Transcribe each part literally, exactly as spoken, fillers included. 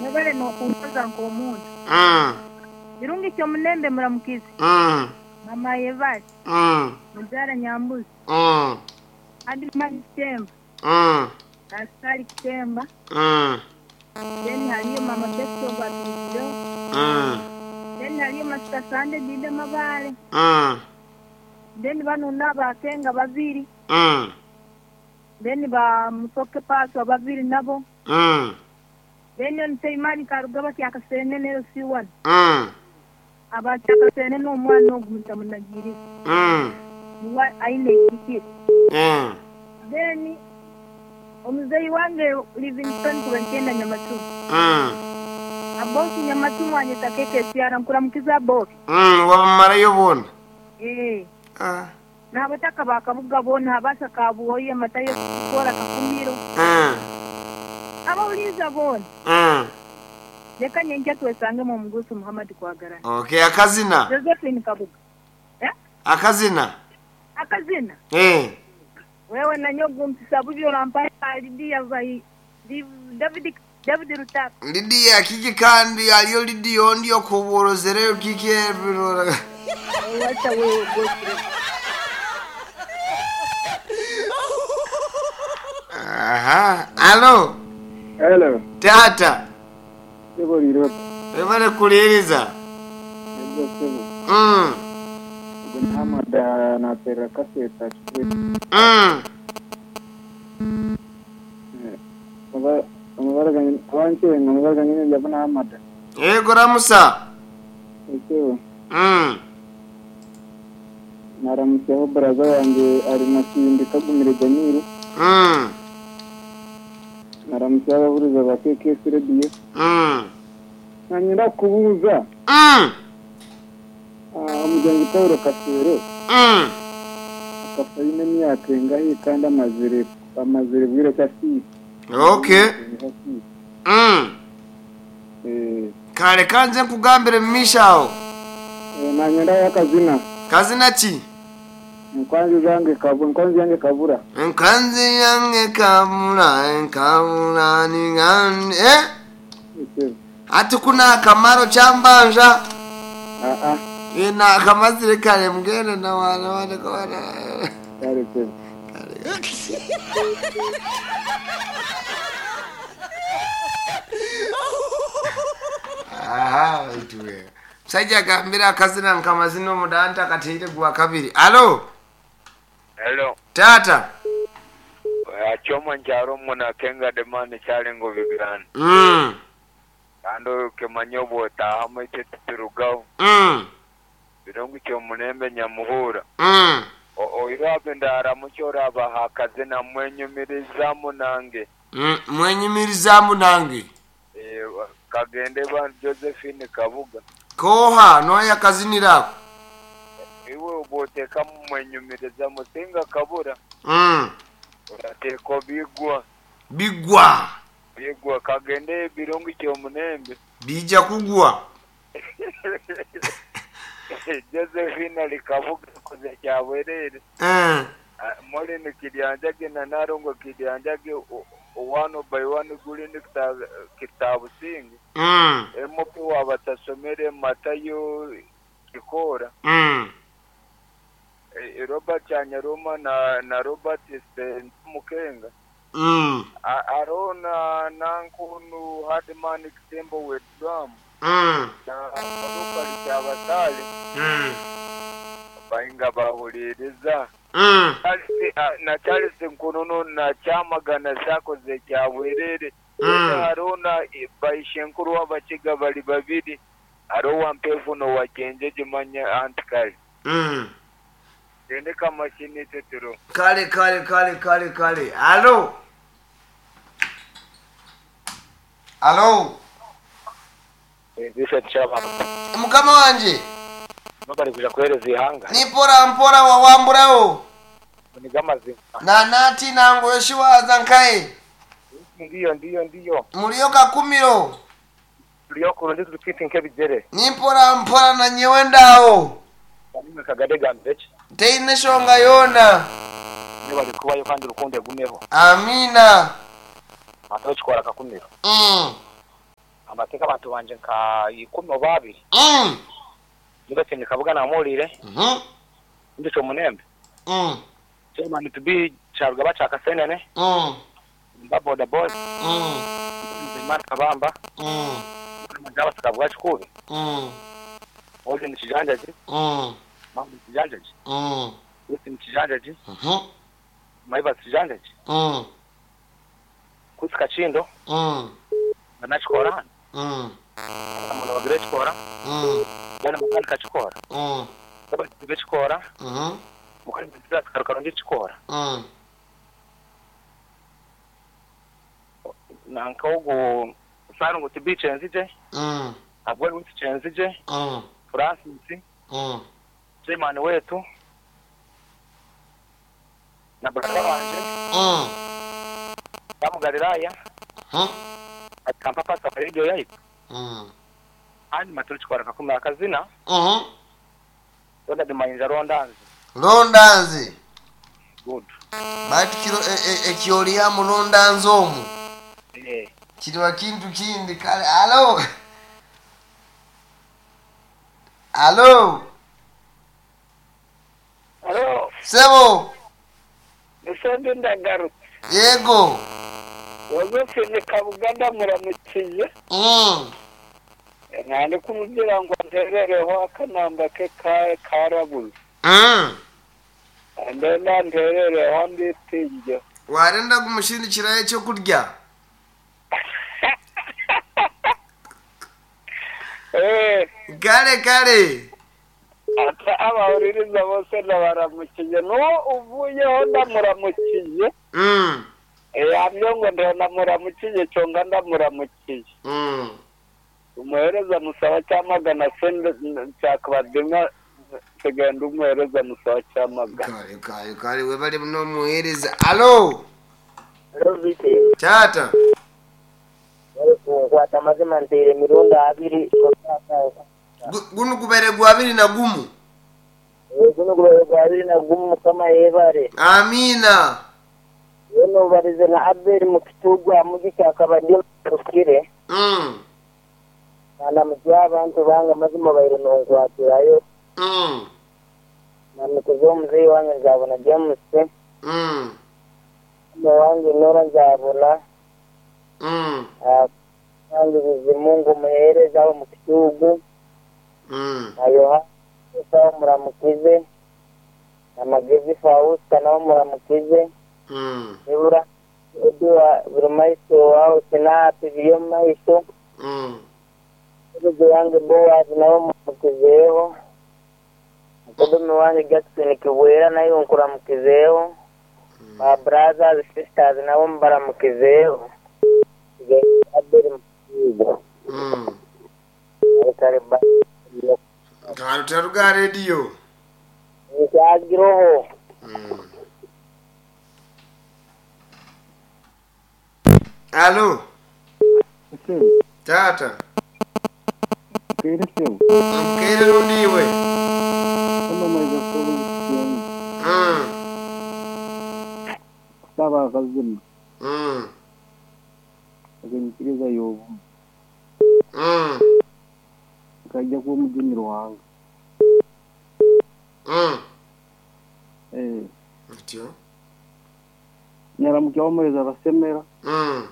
Mwebale n'okumpoza nk'omuntu. Mm. Birungi kyomunembe muramukize. Mm. Mama Yevasi, Mm. Mubyara Nyambuzi, Mm. Adimani Kitemba, Mm. Askari Kitemba, Mm. then haliyo Mama Besto gwatumikireho, Mm. then haliyo Masita Sande Dide Mabale, Mm. then bano n'abakenga babiri, Mm. then ba Musoke Paswa babiri nabo, Mm. then on Seimani Karugaba kyakasenene L C one. Mm. Abakyakasenene omwana ogu mutamunagiriza. Mm. Niwe aine ekikire. Mm. Then omuzeyi wange Livingstone kubenkenda Nyamatumu. Mm. Aboki Nyamatumu anyeta keke siara nkuramukiza aboki. Mm. Wabamarayo boona. Eh. Ah. N'abataka bakabuga boona abasa kabuhoye matayo kukora kakumiro. Mm. Abawuliza boona. Mm. Leka nyenja twesange mu mugusu Muhammad Kwagarana. Okay, akazina. Josephine Kabuga. Eh? Akazina. Akazina. Eh. Wewe na nyogu mpisabubi orampa Lidia vai David David Rutaka. Lidia kiki kandi aliyo Lidia ondio kuborozereyo kiki ebirora. Wacha wewe gosi. Aha. Alo. Hello. Tata. Sebo liro. Webale kuliriza. Sebo sebo. Mm. Gunhamada na pera kaseta chwe. Mm. Mabara mabara wanche mabara ngine jabana hamada. Eh goramusa. Sebo. Mm. Naramuseho braza wange ari makindi kagumire Jamiru. Mm. Naramuseho abahuriza ba K K S Radio. Mm. Nanyenda kubuuza. Mm. Ah, omugenzi Paulo Kasero. Mm. Akafa aine emyaka engahi kandi amazire amazire bwire kyasi. Okay. Mm. Eh. Kale kanze nkugambire mmishawo. Eh, nanyenda yakazina. Kazina ki? Nkwanzi yange kabura, nkwanzi yange kabura. Nkwanzi yange kabura, nkabura ni ngani eh? Ati kuna akamaro kyambanja. Ah ah. Ina akamazire kale mgene na wana wana wana. Kale kale. Aha, ituwe. Msajja agambira akazina nkamazina omudanta kateire gwa kabiri. Alo. Hello. Tata. Achoma njaro muna kenga demani chalingo vigran. Mm. Kando kemanyo bota hamwe turugaho. Mm. Birungu cyo munembe nyamuhura. Mm. Oirabe ndaramuchora bahakazina mwenyumirizamu nange. Mm, mwenyumirizamu nange. Eh, kagende ba Josephine Kabuga. Koha noya kazinirako. Iwe uboteka mwenyumiriza musinga kabura. Mm. Urateko bigwa. Bigwa. Bigwa kagende birungu cyo munembe. Bija kugwa. Josephine alikavuga kuze cyawerere. Eh. Muri nikiryanjage na narongo kiryanjage one by one guli kitabu singi. Mm. M P wabatasomere Matayo Kikora. Mm. E, Robert Chanyaruma na na Robert Mukenga. Mm. Arona nankunu Hardman Kitembo with drum. Mm. Na Rupert Chabasali. Mm. Bainga bahuliriza. Mm. Na Charles Nkunono na Chamagana sakoze cyawerere. Mm. Arona baishenkuru w'abakiga bali babiri. Aro wampevu no wakenjeje manya antikali. Mm. Tendeka mashini tetero. Kale kale kale kale kale. Alo. Alo. Ezisha chaba. Mukama wanje. Mabali kuja kuhereza ihanga. Ni pora mpora wa wamburawo. Ni Na nati nango yoshiwa zankae. Ndiyo ndiyo ndiyo. Muliyo kakumiro. Tuliyo kurundi tulipiti nkebijere. Ni mpora mpora na nyewendawo. Kanime kagadega mbechi. Teine shonga yona. Niba likuwa yo kandi rukunde gumeho. Amina. Matochi kwa kakumiro. Mm. Amateka abantu banje nka ikumi oba abiri. Mm. Nibatsindika kabuga namurire. Mhm. Ndicho munembe. Mm. Chairman to be Charugaba Chakasenene. Mm. Mba boda boda. Mm. Nzimana Kabamba. Mm. Majaba sikavuga kikubi. Mm. Oje ni kijanjaji. Mm. Mambo ni kijanjaji. Mm. Usi ni kijanjaji. Mhm. Maiba kijanjaji. Mm. Kusika chindo. Mm. Banachikora hano. Mm. Umuntu bagire chikora. Mm. Bana makanika chikora. Mm. Baba chikora. Mhm. Mukali mutira karukarundi chikora. Mm. Nanka ogo sarungu tibiche nzije. Mm. Abwe witiche nzije. Mm. Francis. Mm. Chairman wetu. Na brother wanje. Mm. Bamugaliraya. Mhm. Akampa pasa radio yaitu. Mm. Andi maturi chikora kakumi akazina. Mhm. Ronda dimayinja rondanzi. Rondanzi. Good. Batikiro ekyoliya mu rondanzi omwo. Eh. Kiriwa kintu kindi kale. Alo. Alo. Alo, Sebo. Nisende ndagarutse. Yego. Josephine Kabuga ndamuramukiye. Mm. Nandi kumubwira ngo nterereho akanamba ke ka karabuze. Mm. Ndenda nterereho nditinge. Warenda kumushindikira ekyokurya. Eh, Kale kale. ata abahuririza bose ndabaramukiye. N'uwo uvuyeho ndamuramukiye. Mm. Yamye ngo ndamuramukiye cyonga ndamuramukiye. Mm. Umuhereza musaba cyamagana se cyakabadima tugenda umuhereza musaba cyamagana. Kale kale kale webale muno muhereza. Alo. Tata. Nkwata mazima nteire emirundi abiri. Gu- Guno gubere gwa abiri na gumu. Guno gubere gwa abiri na gumu Mukama yebare. Amina. Yono ubarize na Abel mu kitugu amugi kyakabadima rukire. Mm. Na mujya abantu banga mazima baire nonkwatirayo. Mm. Na mikuzo omuzeeyi wange nzabona James. Mm. Mama wange Nora nzabona. Mm. Ah, wange Bizimungu muhereza aho mu kitugu. Mm. Na Yohana nawe muramukize. Na Magezi Fausta nawe muramukize. Mm. Nibura Eduwa buri maiso wawe sinapi biri omu maiso. Mm. Mukodomi wange Boaz nawe muramukizeeho. Mukodomi wange Jackson Kibwera nawe nkuramukizeeho. Ba brothers sisters nabo mbaramukizeeho. Abeli Mukigo. Mm. Kare ba. Kale taruga radio. Nkyagiroho. Mm. Alo. Tata. Kere sebo. Mkere rundiwe. Kama maiza sobo zikiyani. Mm. Kusaba akazina. Mm. Akenyikiriza yobu. Mm. Akajja kuba omujuni Ruhanga. Mm. Eh. Ntyo. Nyaramukya omwezi abasemera. Mm.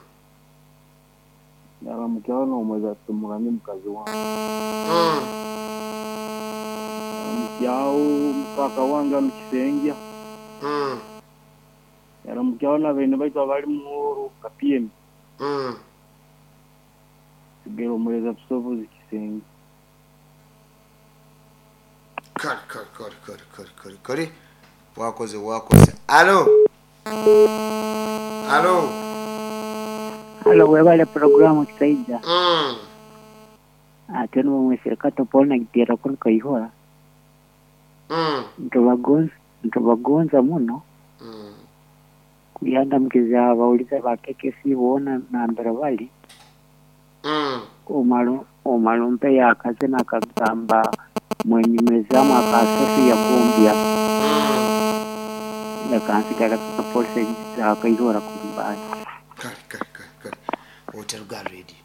Nyaramukya n'omwezi atumuramye mukazi wange. Mm. Nyaramukyawo mukaka wange anu Kisengya. Mm. Nyaramukyawo n'abaine baitu abali muhoro kapiyemi. Mm. Sigera omwezi abusobozi Kisengya. Kale kale kale kale kale kale kale. Wakoze wakoze. Alo. Alo. Halo, webale programu kisaija. Mm. Ate nubo mwesirika Paul na gitera kuri Kaihura. Mm. Ntubagonza ntubagonza muno. Mm. Kuyanda mkiza abawuliza ba K K C boona nambere bali. Mm. Omalu omalumpe yakaze nakagamba mwenyumezamu akasofi yagombya. Mm. Ndakansigala ka polisi za Kaihura kumbaya. Kale kale kale kale. Otaruga radio.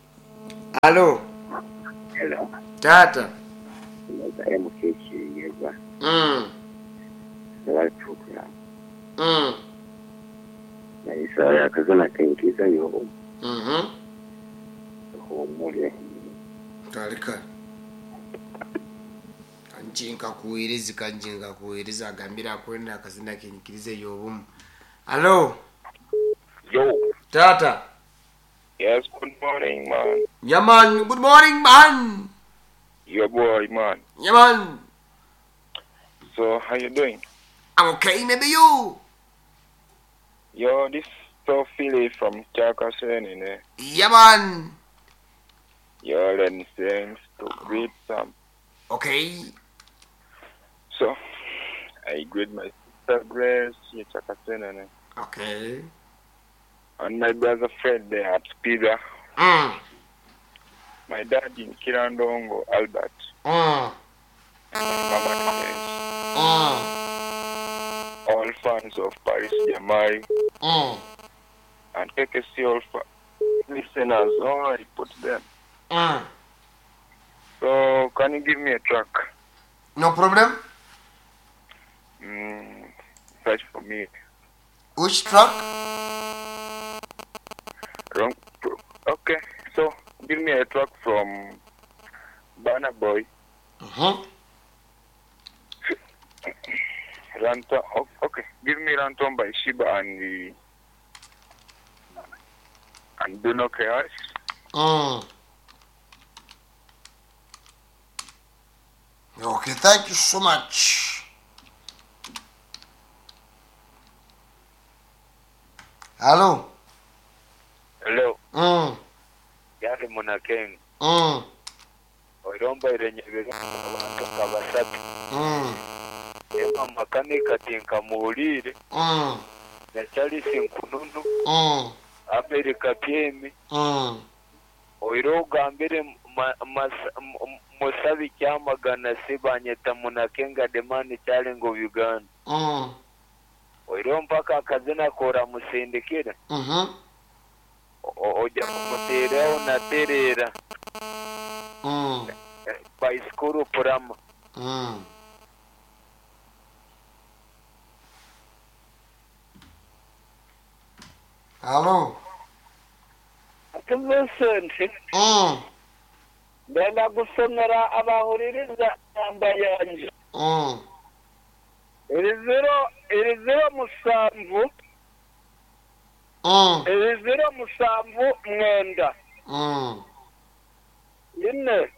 Alo. Hello. Tata. M K Kinyegwa. Mm. Bari program. Mm. Naisa yakazana kenkiza yo. Mhm. Humure. Kale kale. Kanjinka kuwiriza, kanjinka kuwiriza, agambira akwenda akazina kenyikirize y'obumu. Alo. Yo. Tata. Yes, good morning, man. Yeah, man. Good morning, man. Your boy, man. Yeah, man. So, how you doing? I'm okay, maybe you. Yo, this so Philly from Chakasen, eh? Yeah, man. Yo, let me thanks to greet some. Okay. So, I greet my sister Grace here, Chakasen, eh? Okay. And my brother Fred there at Spiga. Mm. My dad in Kirandongo, Albert. Mm. And my mama Grace. Mm. All fans of Paris Jamai. Mm. And K K C all fa- listeners. Oh, I put them. Mm. So, can you give me a track? No problem. Mm, search for me. Which track? Wrong. Okay, so give me a track from Burna Boy. Mm-hmm. Rantom. Okay, give me Rantom by Sheebah and the and Bruno Chaos. Mm. Okay, thank you so much. Hello. Hello. Mm. Yali Munakeng. Mm. Oiromba irenyebera abantu nka basatu. Mm. Emma Makanika tinkamuwulire. Mm. Na Charles Nkununu. Mm. Abel Kapyemi. Mm. Oiro ogambire Musabi Kyamagana Sibanyeta Munakenga Demani Challenge of Uganda. Mm. Oiro mpaka akazina kora musindikira. Mhm. Ojja kumuteerawo natereera. Mm. By school Purama. Mm. Hello. Vincent. Mm. Ndenda gusomera abahuririza namba yanje. Mm. Iri zero, iri zero musanvu. Mm. Iri zero musanvu mwenda. Mm. Ine.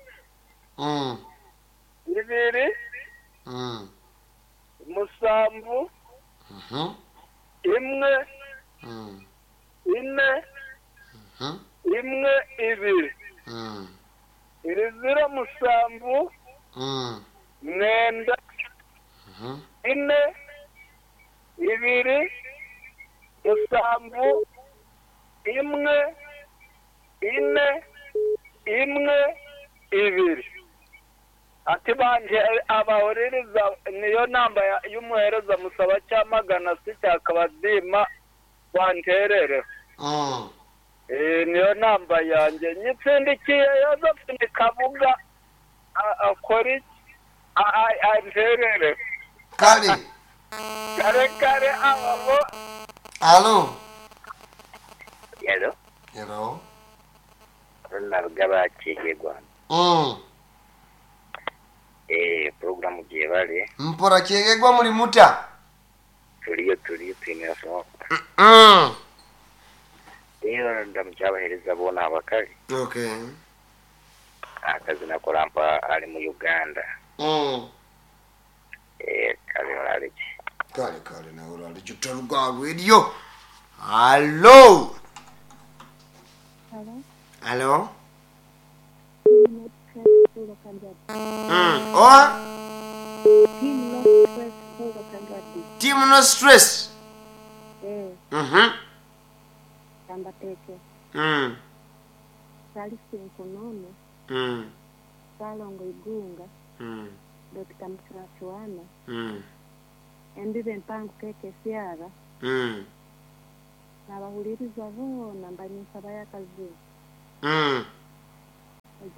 Mm. Ibiri. Mm. Musanvu. Mhm. Imwe. Mm. Ine. Mhm. Imwe ibiri. Mm. Iri zero musanvu. Mm. Mwenda. Mhm. Ine. Ibiri. Musanvu. Imwe. Ine. Imwe. Ibiri. Ati banje abahuririza niyo namba y'umuhereza musaba cyamagana si cyakabadima banterere. Mm. Eh, niyo namba yanjye nyitsindikiye Yosephine Kabuga akora iki anterere. Kale. Kare kare abo. Hello. Hello. Hello. Ronald Kigegwa. Mm. Eh, program gyebale. Mpora Kyegegwa muri muta. Tuliyo tuliyo twine so. Mm. Rero ndamukyabahereza bona abakali. Okay. Akazi nakorampa ali mu Uganda. Mm. Eh, kale olaleki. Kale kale nawe olaleki otaluga radio. Hello. Hello. Hello. Mm. Oa? Team No Stress. Team No Stress. Eh. Mhm. Kambateke. Mm. Salisi Nkonono. Mm. Salongo Igunga. Mm. Dokita Mchwachuana. Mm. Embibe mpango keke siara. Mm. N'abahuliriza boona mbanyisaba y'akazibu. Mm.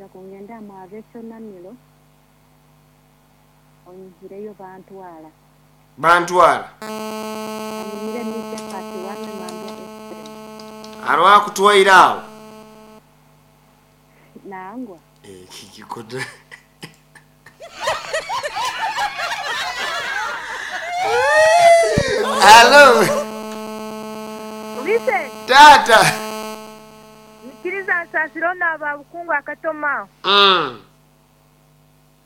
Nja kungenda mwabecho namilo. Onyihireyo bantwala. Bantwala. Anyimire nija pati wame mambia Efrem. Arwa kutwaira awo. Nangwa. Eh kikikoda. Hello. Listen. Tata. Nikiriza nsasiro n'aba bukungu akatoma. Mm.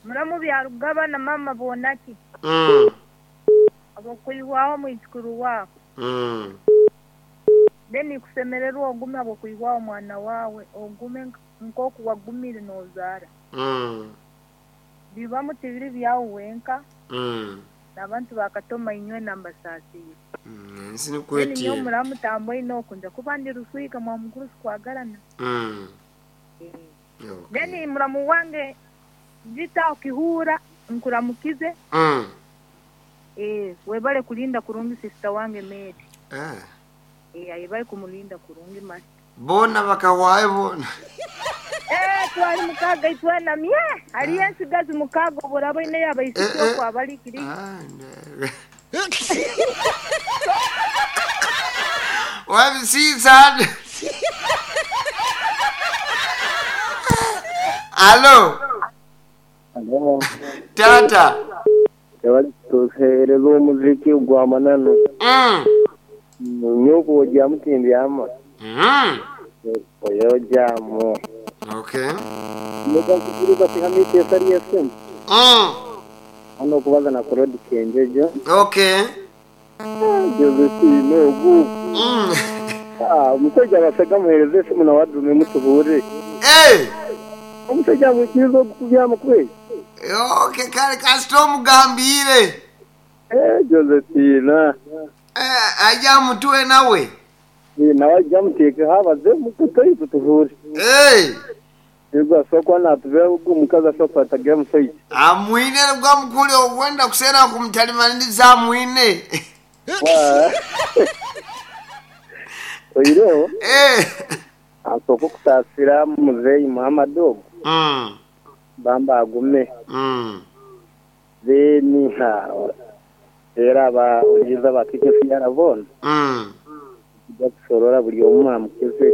Muramu byarugaba na mama bonaki. Mm. Abokuihwaho mwizukuru wako. Mm. Then kusemererwa ogume abokuihwaho mwana wawe ogume nkoku wagumire nozara. Mm. Biba mutibiri byawe wenka. Mm. N'abantu bakatoma inywe nambasasiye. Mm, nsi nikwetiye. Niyo muramu tambo ino kunja kuba ndi ruswika mwa mukuru sikwagarana. Mm. Mm. Okay. Then muramu wange jita ukihura nkuramukize. Mm. Eh, webale kulinda kurungi sister wange Mary. Eh. Eh, ayebale kumulinda kurungi masi. Bona bakawaye bona. Eh, twali mukaga itwana mye. Ali ensigazi mukaga borabo ine yabayisiko eh, eh. Kwa balikiri. Ah. Wabisizana. Hello. Hello. Tata. Yabali tuhereza omuziki gwa manano. Mm. Nyoko ojja mutindi ama. Mm. Oyo jamu. Okay. Nyoka kukuruka tihamite sari yesem. Mm. Ano kubaza na kurodi kenjejo. Okay. Josephine ogu. Mm. Ah, omusajja abasega muhereze esimu na wadume mutuhure. Eh. Omusajja mukizo okubyama kwe. Okay, kale kasito mugambire. Eh, Josephine. Eh, aja mutwe nawe. Eh, nawe ajja muteeke habaze mukutoyi tutuhure. Eh. Yego asokwa na tuve omukazi asokwa atagira musajja. Amwine gwa mukuli ogwenda kusera kumutalimaniriza amwine. Oiro. Eh. Asoko kutasira muzeyi Muhammad ogo. Mm. Bamba agume. Mm. Then ha era ba uliza batike yarabona. Mm. Kujja kusorora buli omu amukize.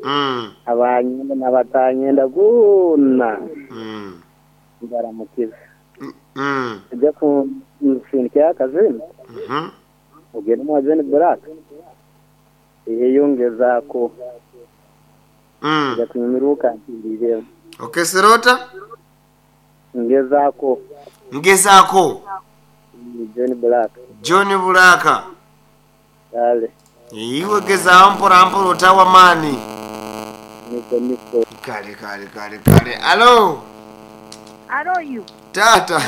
Mm. Abanyenda n'abatanyenda gona. Mm. Ngaramukize. Mm. Kujja ku msindika akazini. Mhm. Ogende mu John Black. Eyongezaako. Mm. Kujja kunyumiruka ntirire. Okay, Sirota? Ngezaako. Ngezaako. John Black. John Black. Kale. Iwe gezaawo mpora mpora otawa maani. Niko niko. Kale kale kale kale. Alo. Alo you. Tata.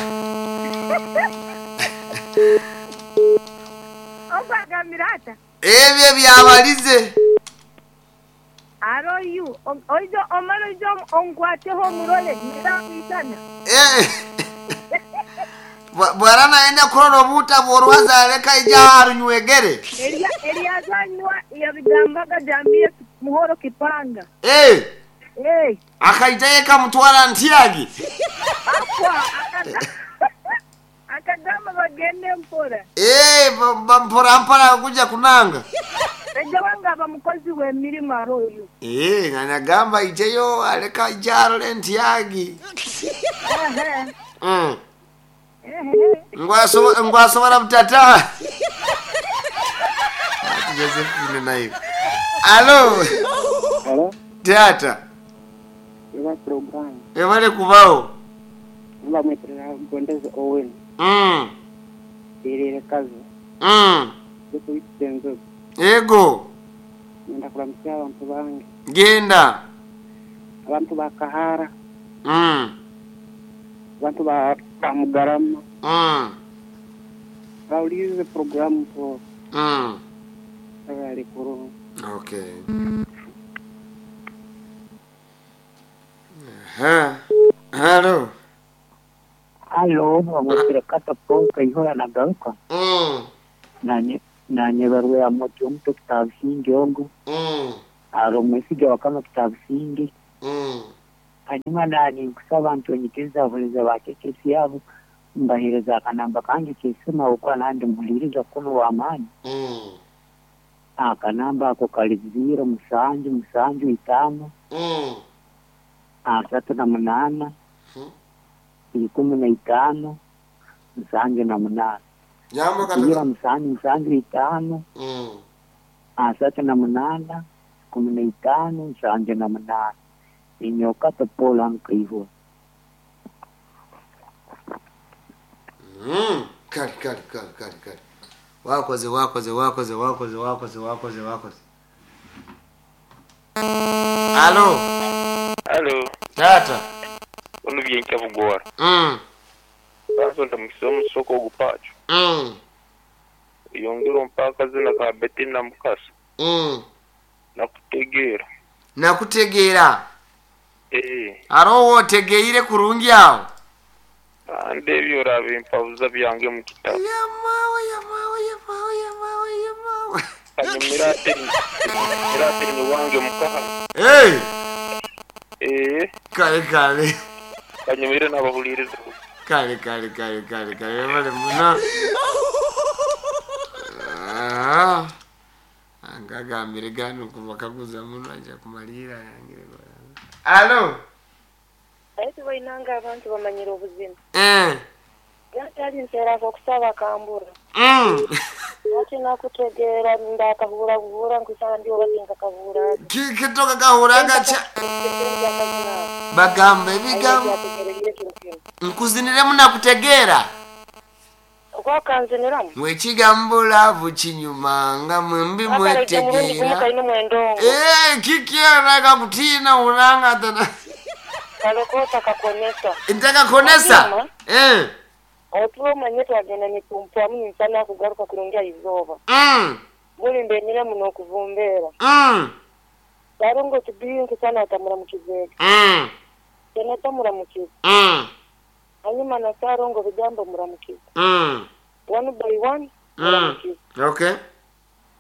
Obagamira ata. Ebyo byabalize. Alo you. Oijo omalo ijo ongwateho murole ngira. Eh. Bwana naenda kurora obuta bworwaza aleka ija arunywegere. Elia Eliazanywa yabigambaga jambie muhoro kipanga. Eh. Eh. Akaiteka mutwara ntiagi. Akwa akagamba bagende mpora. Eh, mpora mpora kuja kunanga. Eja wanga abamukozi we mirimo aroyo. Eh, nganagamba ijeyo aleka ija arole ntiagi. Eh. Mm. Ngwaso ngwasobora mtata. Ati Josephine nayo. Alo. Hello. Tata. Eba program. Ebale kubao. Mba mweterera gondeze Owen. Mm. Erere kazi. Mm. Yeko itenzo. Ego. Ngenda kulamukya abantu bange. Genda. Abantu bakahara. Mm. Abantu ba Mugarama. Mm. Bawulize program po. Mm. Bali kuru. Okay. Ha. Hello. Hello, bamwetire kata ponka ihora nagaruka. Mm. Nanye nanye barwe ya moto omuto kitabusingi ogo. Mm. Aro mwesiga wakama kitabusingi. Mm. Hanyuma nani nkusaba ntonyikiriza abahereza ba K K C abo mbahereza akanamba kange kesima okuba nandi muhuliriza kuno w'amaani. Mm. Akanamba ako kali ziro musanju musanju itaano Mm. asatu na munaana Hmm. ikumi na itaano musanju na munaana. Jambo Ziro kata. musanju musanju itaano Mm. asatu na munaana ikumi na itaano musanju na munaana. Inyoka topola nkaihura. Mm. Kale kale kale kale kale. Wakoze wakoze wakoze wakoze wakoze wakoze wakoze. Alo, Alo, tata. olubye nkyabugora. Mm. Basonda mukisa omusoko ogupacho. Mm. Yongera ompa akazina ka Betina Mukasa. Mm. Nakutegeera. Nakutegeera. Eh, Aro wotegeire kurungi awo. ande ebyo orabimpabuza byange mu kitabo. Yamawe yamawe yamawe yamawe yamawe. Kanyumira ate ate ni wange mukaha. Hey, Eh, kale kale. kanyumire n'abahuliriza. Kale kale kale kale kale bale muno. Ah. Angagambire gano kuva kaguza muno aja kumalira yangire. Alo. Aye tubainanga abantu bamanyira obuzima. Eh. Yatali nseera okusaba kambura. Mm. Lwaki nakutegeera ndakahura buhura nkusaba ndi oba sinkakahura. Kitoka kahuranga cha bagamba ebigambo nkuziniremu nakutegeera. Okwakanziniramu. Mwekigambo laavu kinyuma nga mwembi mwetegeera. Kalina mwendongo. Eh, kikyera kakutiina ulanga tana. Kalokota kakonesa. Ntakakonesa. Hanyuma, Eh. otuba omanye twagenda nitumpwamu ninsana kugaruka kurungi izooba. Mm. Buli mbenyire muno okuvumbeera. Mm. Barongo tubiyi nkusana atamuramukizeega. Mm. Seneta muramukize. Mm. Hanyuma na sarongo bigambo muramukize. Mm. One by one Mm. muramukize. Okay.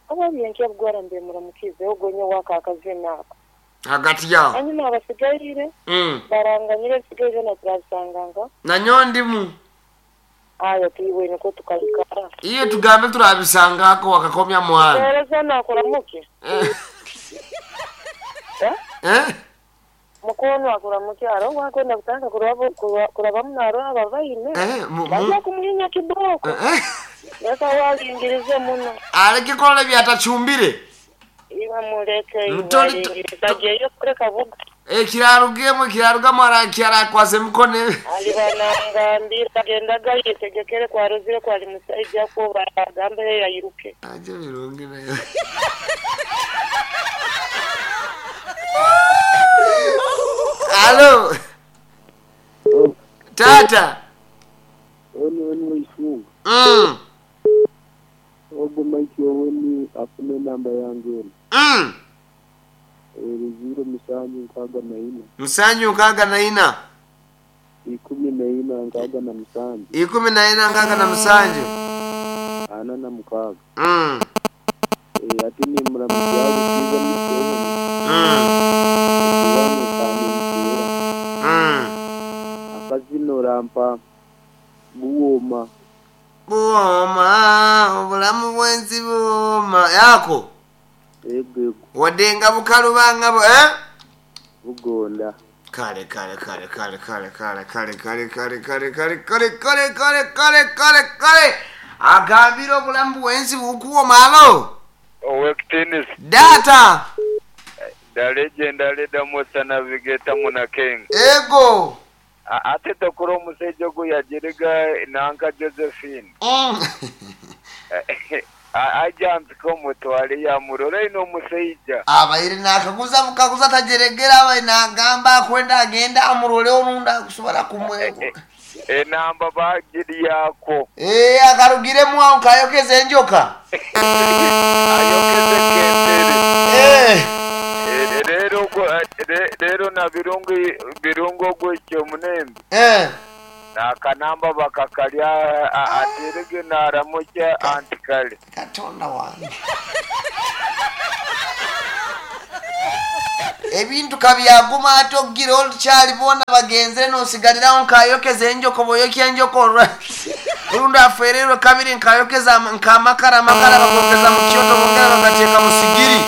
Oba byenkya mbe muramukize ogonye waka akazina ako. Hagati yao. Hanyuma abasigaire Mm. baranganyire bisigaire na turabisanganga. Nanyo ndimu. Ayo tuiwe niko tukaikara. Iyo tugambe turabisangako wakakomya mwana. Ereza nakuramuke. Eh. Eh? Eh? Mukono akuramuke aro wakwenda kutanga kurabo kurabamu naro ababaine. Eh, mu- mu- Bajja kumuhinya kiboko. Eh. Leka walingirize muno. Aleke kola byatachumbire. Iwe muleke Mutoli- iwalingiriza jeyo kureka buga. Eh, kirarugemo kirarugamo arakyara kwaze mukone. Alibanangambira agendaga yetegekere kwarozire kwali musajja ko bagambire yayiruke. Aje birungi nayo. Alo. Tata. Oni oni waifunga. Mm. Ogo maiki oni afune namba yange eno. Mm. Eri ziro musanju nkaaga na ina. Musanju nkaaga na ina. Ikumi na ina nkaaga na musanju. Ikumi na ina nkaaga na musanju. Ana na mukaaga. Mm. Eh, ate ni muramuzi abo kiza museveni. Mm. Ekiwano kani mukera. Mm. Akazina orampa buwooma. Buwooma, obulamu bw'ensi buwooma. Yako. Ego ego. Wadde nga bukalubanga bu eh? Bugonda. Kale kale kale kale kale kale kale kale kale kale kale kale kale kale kale kale kale agambira obulamu bw'ensi bukuwoma. Alo. Owekitiinisa. Data. The legendary Damosa Navigator Munakenga. Ego. Ate tokora omusajja ogwo yagiriga nanka Josephine. Mm. Ajampika omutwale yamurora ino omusajja. Abaire nakaguza bukaguza tajeregera abaire nagamba akwenda agenda amurole orunda akusobola kumwe. Enamba bagiri yako. Eh, akarugiremu aho kayokeze enjoka. Ayokeze kentere. Eh. Rero rero na birungu birungu ogwekyo munembe. Eh. Nakanamba bakakalya aterege naramukya antikale. Katonda wange. Ebintu kabyaguma ate okugira olukyali boona bagenzere nosigalirawo nkayokeza enjoko boyokya enjoko olwa olundi afererwe kabiri nkayokeza nkamakara amakara bagongeza mu kyoto bongera bagateeka mu sigiri.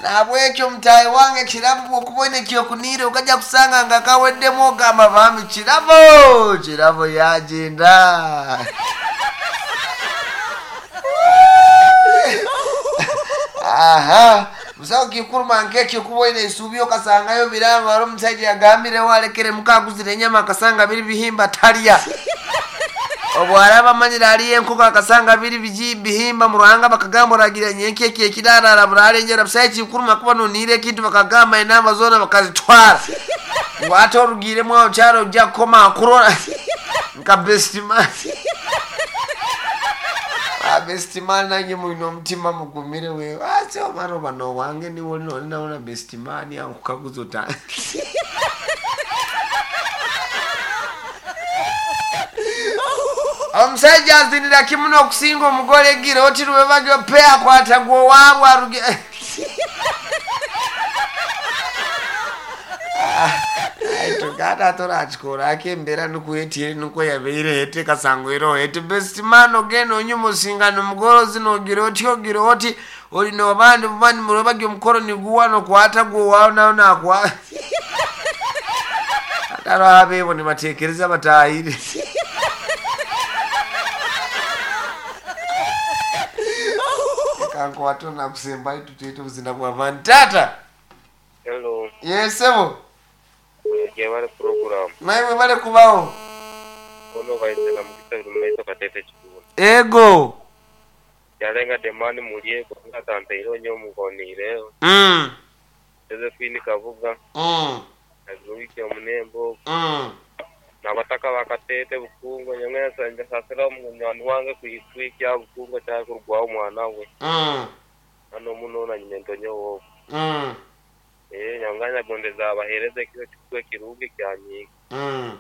Nabwekyo mutayi wange kirabo bwokubona ekyokunire okajja kusanga nga kaweddemu ogamba bambi kirabo kirabo yagenda. Aha musawo kikuruma nkekyo kuboine esuubi okasangayo biranga wali omusajja yagambirewo alekere mukaguzira enyama akasanga biri bihimba talya. Obwaraba amanyire aliyo enkoko akasanga biri biji bihimba mu ruhanga bakagamba oragira nyenki eki ekirarara buralenjera. Busayo kikuruma kuba noniire ekintu bakagamba enamba zoona bakazitwara ngu ate orugiremu aho kyaro ojja kukoma akurora nka best man. Best man nange mulina omutima mugumire wewe ase omwana oba nowange niwe olinaona best man ankukaguza ota. Omusajja azinira kimu n'okusinga omugole gira oti lwebagyo pe akwata gwe owaabwe aruge. Tugata torakikora akembeera nikuetiire nikwo yabeire ete kasangwire ete best man ogenda onyuma osingana omugole ozina ogira oti ogira oti olina obandi bubandi mulwebagyo omukolo niguwa nokwata gwe owaawe nawe nakwa. Ate abeebo nibateekereza batahire. Kankwata nakusembayo tutete obuzina bw'abantu. Tata. Hello. Yesebo. Yebale program. Nawe bale kubawo. Ono baizela mukisa rumeto katete chikulu. Ego. Yalenga demani mulie kwa tante iro nyo mugonire. Mm. Josephine Kavuga. Mm. Azurike omunembo. Mm. Nabataka bakatete bukungo nyamwe sanja sasira omunywani wange kuitwikya bukungo kyakurugwaho omwana we. Mm. Ano muno na nyinento nyowo. Mm. Eh nyanganya gondeza abahereze kyo kikwe kirungi kyanyiga. Mm.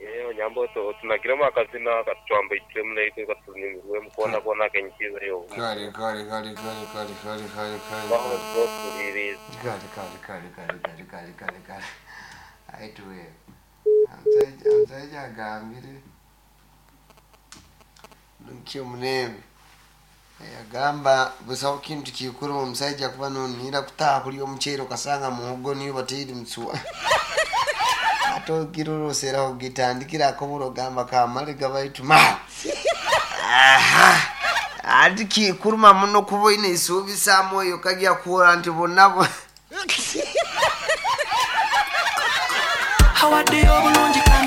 Eh nyambo to tunagiramo akazina katwamba itwe mune katunyumirwe mukona kona kenyikiza yo. Kale kale kale kale kale kale kale kale. Baho tsokuririza. Kale kale kale kale kale kale kale kale. Aituwe. Omusajja omusajja agambire nkyo munembe yagamba busawo kintu kikuru omusajja kuba nonira kutaha kuli omucheere okasanga muhogo niyo bataire mutsuwa. Ate ogira orosera ogitandikirako burogamba kamale gabaitu ma. Aha ati kikuruma muno kuba oine eisuubi saamu kajja kuhura nti bonna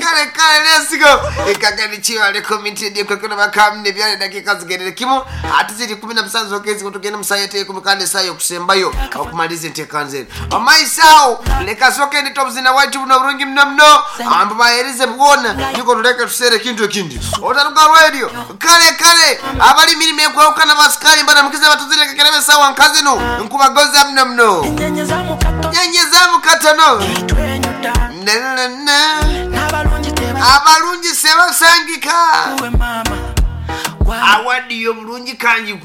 kale kale let's go. Ekagani chiwa le community ndiye kwa kuna makamne byale dakika zigerere kimu ati ziri kumi na musanzu okezi kutugenda musayete kumi kandi sayo kusembayo okumaliza entekanze amaisao leka soke ndi top zina white buno burungi mno mno ambo bahereze bwona niko tuleke tusere kintu ekindi otaruka radio kale kale abali mirimo ekwawukana basikali mbana mukiza batuzire kekerebe sawa nkazino nkubagoza mno mno nyenyezamu katono abalungi sebasangika awadi yo bulungi kangi.